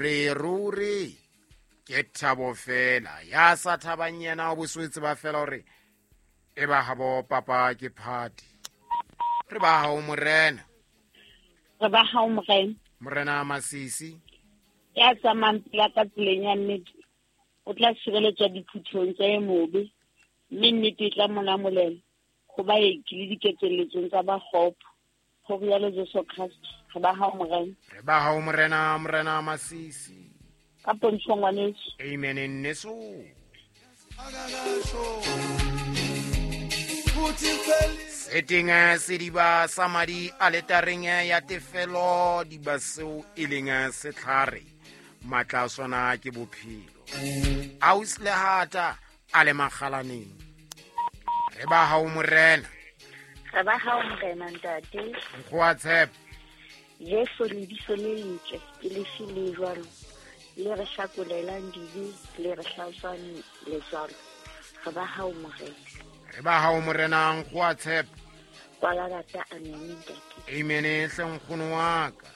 Re ruri ke thabo fela ya sa thabang yena o boswetse ba fela gore e ba gabo papa ke phati. Re ba gao morena. Re ba gao morena. Morena Masisi. Ya tsamayang pela ka tseleng ya nnete o tla sireletswa diphuthong tsa e mobe, mme nnete e tla mo namolela go baeki le diketselletsong tsa ba kgopo. Go rialo Jesu Christ. Re ba gao morena. Re ba gao morena, morena Masisi. Ka pontsho ngwaneso. Amen nneso. Seteng sediba sa madi aletareng ya tefelo diba seo e leng setlhare matla a sona ke bophelo. Aus lehata a le magalaneng. Re ba gao morena. Re ba gao morena ntate. Nkgo a tshepo. Jesu lebitso le letle ke lefe le jwalo le re hlakolelang dibe le re hlatswang letswalo. Re ba gao morena. Re ba gao morena nkgo a tshepo. Kwala rata amen ntate. Amen hle nkgono wa ka.